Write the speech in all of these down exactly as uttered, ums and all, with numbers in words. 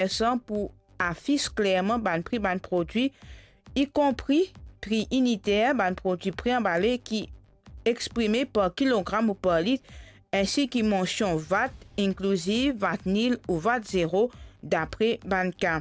enteresan pou afis klerman bann pri bann prodwi, ikonpri pri initer bann prodwi pre-anbale ki exprime par kilogram ou par lit, ensi ki mansion vat inkliziv, vat nil ou vat zero, dapre bann ka.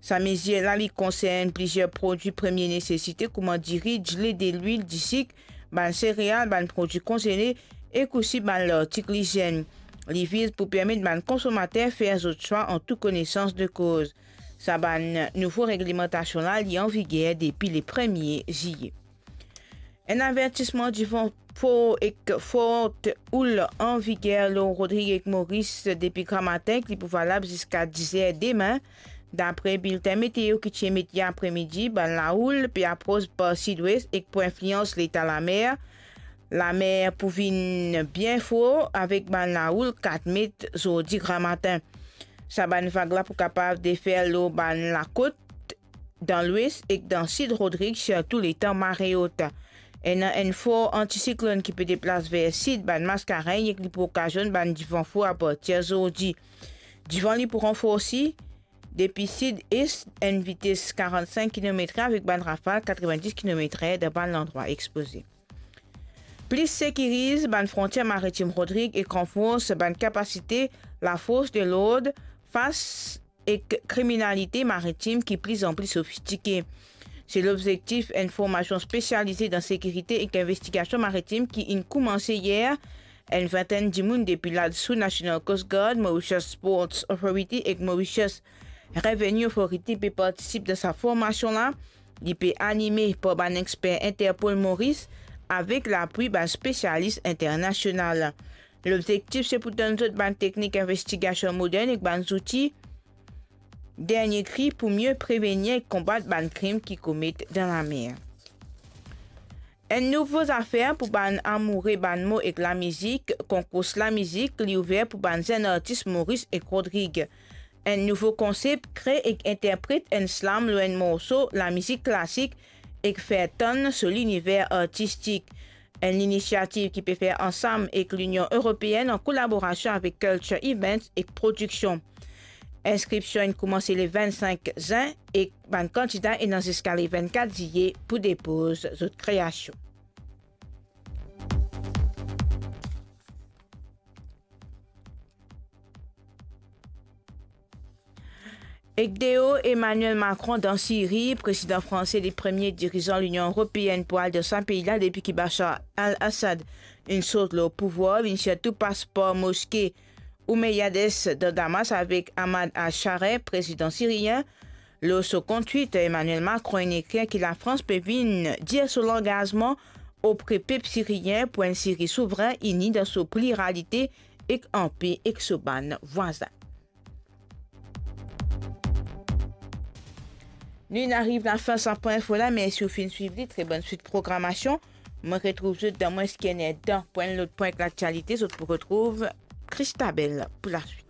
Sa mezir la, li konsern plizier prodwi premie nesesite, kouma diri, dile, delwil, disik, bann sereal, bann prodwi konzele ek osi bann lartik lizienn. Li viz pou permet bann konsomater fer zot swa an tou konesans de koz. Sa bann nouvo reglemantasion la, li an viger depi le premie ziye. Enn avertisman divan for ek fort oul an viger lor Rodrig ek Moris depi gramatin, ki pou valab ziska diz er demin. Dapre biltin meteo ki ti emet yer apremidi, bann laoul pe apros par sidwes ek pou inflians leta lamer. Lamer pou vinn bien for avek bann laoul kat met zordi gramatin. Sa bann vag la pou kapav defer lor bann lakot dan lwes ek dan sid Rodrig, sirtou letan mare ot. Ena enn for antisiklonn ki pe deplas ver sid bann Maskarenn ek li pou okazionn bann divan for apartir zordi. Divan li pou ranforsi depi sid-es, enn vites karant-sink kilometre avek bann rafal katrevinndis kilometre dan bann landrwa expoze. Plis sekiriz bann frontier maritim Rodrig ek ranfors bann kapasite lafors de lord fas ek kriminalite maritim ki plizanpli sofistike. Se lobzektif enn formasion spesialize dan sekirite ek investigasion maritim ki inn koumanse yer. Enn vintenn dimoun depi LADSU, National Coast Guard, Mauritius Ports Authority ek Mauritius Revenue Authority pe partisip dan sa formasion la. Li pe anime par bann exper Interpol Moris avek lapwi bann spesialis internasional. Lobzektif se pou donn zot bann teknik investigasion modern ek bann zouti dernie kri pou mie prevenir ek konbat bann krim ki komet dan lamer. Enn nouvo zafer pou bann amoure bann mo ek lamizik, konkours lamizik, li ouver pou bann zenn artis Moris ek Rodrig. Enn nouvo konsep, kre ek interpret enn slam lor enn morso lamizik klasik ek fer tann so liniver artistik. Enn linisiativ ki pe fer ansam ek Linion Eropeenn an kolaborasion avek Culture Events ek Prodiksion. Inskrision inn koumanse le vinn-sink zin ek bann kandida ena ziska le vinn-kat ziye pou depoz zot kreasion. Ek deor Emmanuel Macron dan Siri, prezidan franse, le premie dirizan Linion Eropeenn pou al dan sa pei la depi ki Bashar al-Assad inn sort lor pouvwar, inn sirtou pas par moske Omeyyades dan Damas avek Ahmad al-Sharaa, prezidan sirien. Lor so kont Twitter, Emmanuel Macron inn ekrir ki Lafrans pe vinn dir so langazman opre pep sirien pou enn Siri souvrin, ini dan so pliralite ek anpe ek so bann vwazin. Nou inn ariv lafin sa pwin info la, mersi ou finn swiv li, tre bonn swit programasion. Mo retrouv zot dan mwins ki enn er dan pou enn lot pwin ek laktialite, zot pou retrouv Christabel pou laswit.